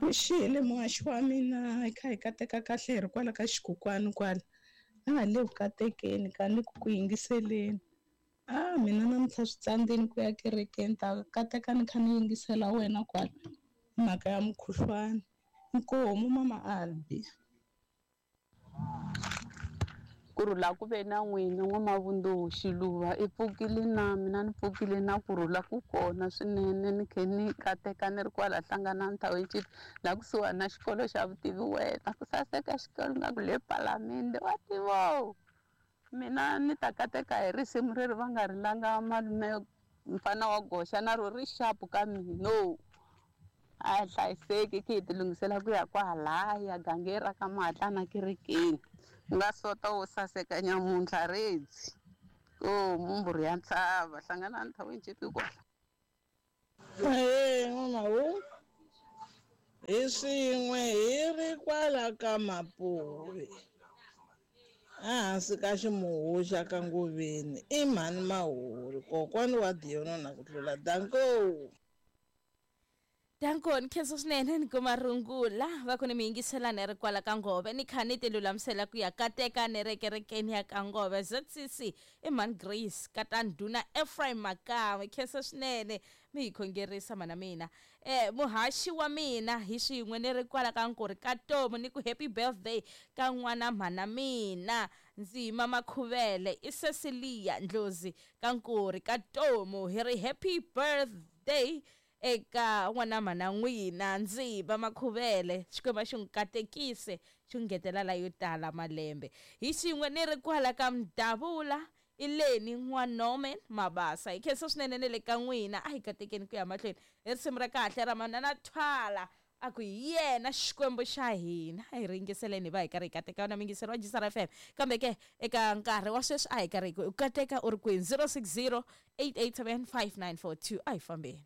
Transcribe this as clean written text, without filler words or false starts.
Vuxile muhaxi wa mina hi kha hi kateka kahle hi ri kwala ka xikukwani kwala a ha le ku katekeni ka ni ku ku yingiseleni a mina namuntlha swi tsandzeni ku ya kerekeni ta kateka ni kha ni yingisela wena kwala mhaka ya mukhuhlwani inkomu mama Albi. Kurhula ku ve na n'wina n'wamavunduku Xiluva i pfukile na mina ni pfukile na kurhula ku kona swinene ni khe ni kateka ni ri kwala Hlanganani Township la kusuhani na xikolo xa vutivi wena ku saseka xikolo nga ku le palamende wa tivo mina ni ta kateka hi risimu reri va nga ri langa malume mfana wa goxa na ro ri xapu ka mina a hi hlayiseki khe hi ti lunghisela ku ya kwahalaya gangeni ra ka Mahatlana kerekeni ku nga sota wo saseka nyamuntlha redzi ko mumbhurhu ya ntshava Hlanganani Township kwala. Ahee n'wamahu hi swin'we hi ri kwala ka Mapuve ehansi ka ximuwu xa ka Ngoveni i mhani Mahuri kokwani wa Diyonona ku tlula danko. Danko ni khensa swinene ni kuma rungula va ku ni mi yingiselani ri kwala ka Ngove ni kha ni ti lulamisela ku ya kateka ni ri kerekeni ya ka Ngove ZCC i mhani Grace kata ndhuna Ephraim Makawe khensa swinene mi hi khongerisa mhana mina eh muhaxi wa mina hi swin'we ni ri kwala ka Nkuri ka Tomu ni ku happy birthday ka n'wana mhana mina ndzi mama Khuvele i Cecilia Ndlozi ka Nkuri ka Tomu hi ri happy birthday Eka n'wana mhana n'wina ndzi ba makhuvele Xikwembu a xi n'wi katekise xi n'wi ngetela la yo tala malembe. Hi xin'we ni ri kwala ka Mdavula i Leni n'wa Norman Mabasa. Hi khensa swinene ne le ka n'wina a hi katekeni ku ya mahlweni hi risimu ra kahle ra Manana Thwala a ku hi yena Xikwembu xa hina. A hi ri yingiseleni hi va hi karhi hi kateka wena muyingiseri wa Jisara FM. Kambe ke eka nkarhi wa sweswi a hi karhi hi ku u kateka u ri kwini 060 887 5942 a hi fambeni.